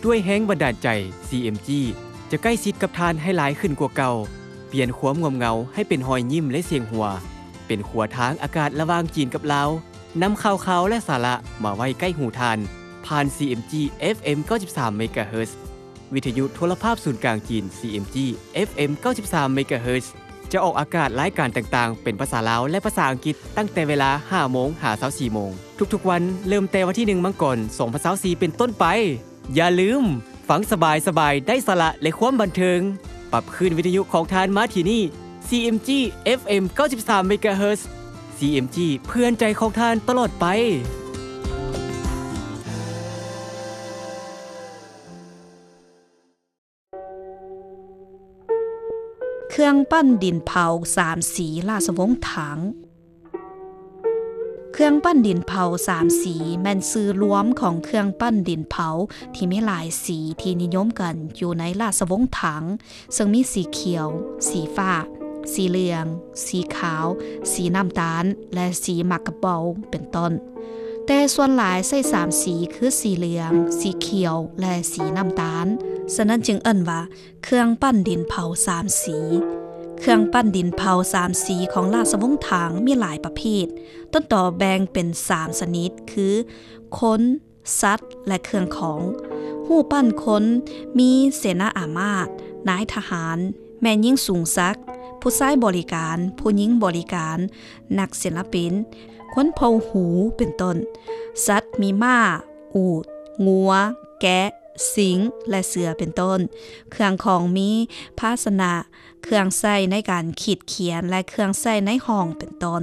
ດ້ວຍແຮງບັນດານໃຈ ຊີເອັມຈີ ຈະໃກ້ຊິດກັບທ່ານໃຫ້ຫຼາຍຂຶ້ນກວ່າເກົ່າ, ປ່ຽນຄວາມງ່ວມເຫງົາໃຫ້ເປັນຮອຍຍິ້ມ ແລະ ສຽງຫົວ, ເປັນຂົວທາງອາກາດລະຫວ່າງຈີນກັບລາວ, ນຳຂ່າວຄາວ ແລະ ສາລະມາໄວ້ໃກ້ຫູທ່ານ ຜ່ານ ຊີເອັມຈີ ເອັຟເອັມ ເກົ້າສິບສາມ ເມກາເຮີດ, ວິທະຍຸໂທລະພາບສູນກາງຈີນ ຊີເອັມຈີ ເອັຟເອັມ ເກົ້າສິບສາມ ເມກາເຮີດ, ຈະອອກອາກາດລາຍການຕ່າງໆ ເປັນພາສາລາວ ແລະ ພາສາອັງກິດ ຕັ້ງແຕ່ເວລາ ຫ້າໂມງ ຫາ ຊາວສີ່ໂມງ ທຸກໆວັນ, ເລີ່ມແຕ່ວັນທີໜຶ່ງ ມັງກອນ ສອງພັນຊາວສີ່ ເປັນຕົ້ນໄປ. ຢ່າລືມ, ຟັງສະບາຍໆ ໄດ້ສາລະ ແລະ ຄວາມບັນເທີງ. ປັບຄື້ນວິທະຍຸຂອງທ່ານມາທີ່ນີ້, ຊີເອັມຈີ ເອັຟເອັມ ເກົ້າສິບສາມ ເມກາເຮີດ, ຊີເອັມຈີ ເພື່ອນໃຈຂອງທ່ານຕະຫຼອດໄປ. ເຄື່ອງປັ້ນດິນເຜົາສາມສີລາຊະວົງຖັງ. ເຄື່ອງປັ້ນດິນເຜົາສາມສີ ແມ່ນຊື່ລວມຂອງເຄື່ອງປັ້ນດິນເຜົາທີ່ມີຫຼາຍສີທີ່ນິຍົມກັນຢູ່ໃນລາຊະວົງຖັງ, ເຊິ່ງມີສີຂຽວ, ສີຟ້າ, ສີເຫຼືອງ, ສີຂາວ, ສີນ້ຳຕານ ແລະ ສີໝາກກະເບົາ ເປັນຕົ້ນ. ແຕ່ສ່ວນຫຼາຍໃຊ້ສາມສີ ຄື ສີເຫຼືອງ, ສີຂຽວ ແລະ ສີນ້ຳຕານ. ສະນັ້ນຈຶ່ງເອີ້ນວ່າ ເຄື່ອງປັ້ນດິນເຜົາສາມສີ. ເຄື່ອງປັ້ນດິນເຜົາສາມສີຂອງລາຊະວົງຖັງມີຫຼາຍປະເພດ, ຕົ້ນຕໍແບ່ງເປັນສາມຊະນິດ ຄື ຄົນ, ສັດ ແລະ ເຄື່ອງຂອງ. ຮູບປັ້ນຄົນມີເສນາອາມາດ, ນາຍທະຫານ, ແມ່ຍິງສູງສັກ, ຜູ້ຊາຍບໍລິການ, ຜູ້ຍິງບໍລິການ, ນັກສິນລະປິນ, ຄົນເຜົ່າຫູ ເປັນຕົ້ນ. ສັດມີມ້າ, ອູດ, ງົວ, ແກະ, ສິງ ແລະ ເສືອ ເປັນຕົ້ນ. ເຄື່ອງຂອງມີພາຊະນະ, ເຄື່ອງໃຊ້ໃນການຂີດຂຽນ ແລະ ເຄື່ອງໃຊ້ໃນຫ້ອງ ເປັນຕົ້ນ.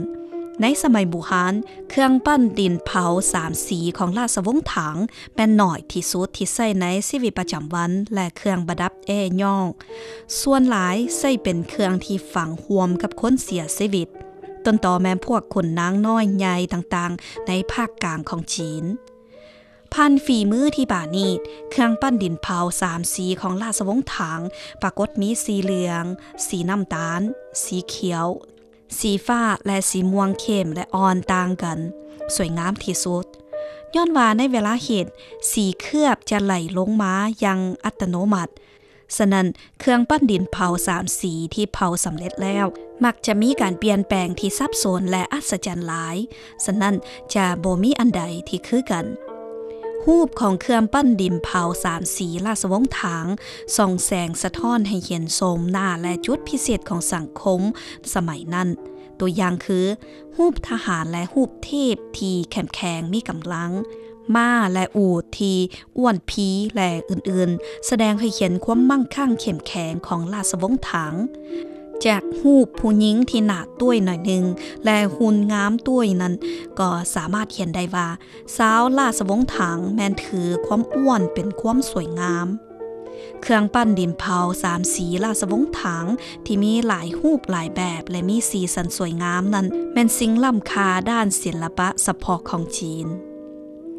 ໃນສະໄໝບູຮານ, ເຄື່ອງປັ້ນດິນເຜົາສາມສີຂອງລາຊະວົງຖັງແມ່ນໜ້ອຍທີ່ສຸດທີ່ໃຊ້ໃນຊີວິດປະຈຳວັນ ແລະ ເຄື່ອງປະດັບແອ້ຍ້ອງ. ສ່ວນຫຼາຍໃຊ້ເປັນເຄື່ອງທີ່ຝັງຮ່ວມກັບຄົນເສຍຊີວິດ, ຕົ້ນຕໍແມ່ນພວກຂຸນນາງນ້ອຍໃຫຍ່ຕ່າງໆ ໃນພາກກາງຂອງຈີນ. ຜ່ານຝີມືທີ່ປານີດ, ເຄື່ອງປັ້ນດິນເຜົາສາມສີຂອງລາຊະວົງຖັງປາກົດມີສີເຫຼືອງ, ສີນ້ຳຕານ, ສີຂຽວ, ສີຟ້າ ແລະ ສີມ່ວງເຂັ້ມ ແລະ ອ່ອນຕ່າງກັນ, ສວຍງາມທີ່ສຸດ. ຍ້ອນວ່າໃນເວລາເຮັດ, ສີເຄືອບຈະໄຫຼລົງມາຢ່າງອັດຕະໂນມັດ. ສະນັ້ນ, ເຄື່ອງປັ້ນດິນເຜົາສາມສີທີ່ເຜົາສຳເລັດແລ້ວ ມັກຈະມີການປ່ຽນແປງທີ່ສັບສົນ ແລະ ອັດສະຈັນຫຼາຍ. ສະນັ້ນ, ຈະບໍ່ມີອັນໃດທີ່ຄືກັນ. ຮູບຂອງເຄື່ອງປັ້ນດິນເຜົາສາມສີລາຊະວົງຖັງ ສ່ອງແສງສະທ້ອນໃຫ້ເຫັນໂສມໜ້າ ແລະ ຈຸດພິເສດຂອງສັງຄົມສະໄໝນັ້ນ. ຕົວຢ່າງຄື ຮູບທະຫານ ແລະ ຮູບເທບທີ່ເຂັ້ມແຂງມີກຳລັງ, ມ້າ ແລະ ອູດທີ່ ອ້ວນພີ ແລະ ອື່ນໆ ສະແດງໃຫ້ເຫັນຄວາມມັ່ງຄັ່ງເຂັ້ມແຂງຂອງລາຊະວົງຖັງ. ຈາກຮູບຜູ້ຍິງທີ່ໜ້າຕ້ວຍໜ້ອຍໜຶ່ງ ແລະ ຫຸ່ນງາມຕ້ວຍນັ້ນ ກໍສາມາດເຫັນໄດ້ວ່າ ຊາວລາຊະວົງຖັງແມ່ນຖືຄວາມອ້ວນເປັນຄວາມສວຍງາມ. ເຄື່ອງປັ້ນດິນເຜົາສາມສີລາຊະວົງຖັງທີ່ມີຫຼາຍຮູບຫຼາຍແບບ ແລະ ມີສີສັນສວຍງາມນັ້ນ ແມ່ນສິ່ງລ້ຳຄ່າດ້ານສິລະປະສະເພາະຂອງຈີນ.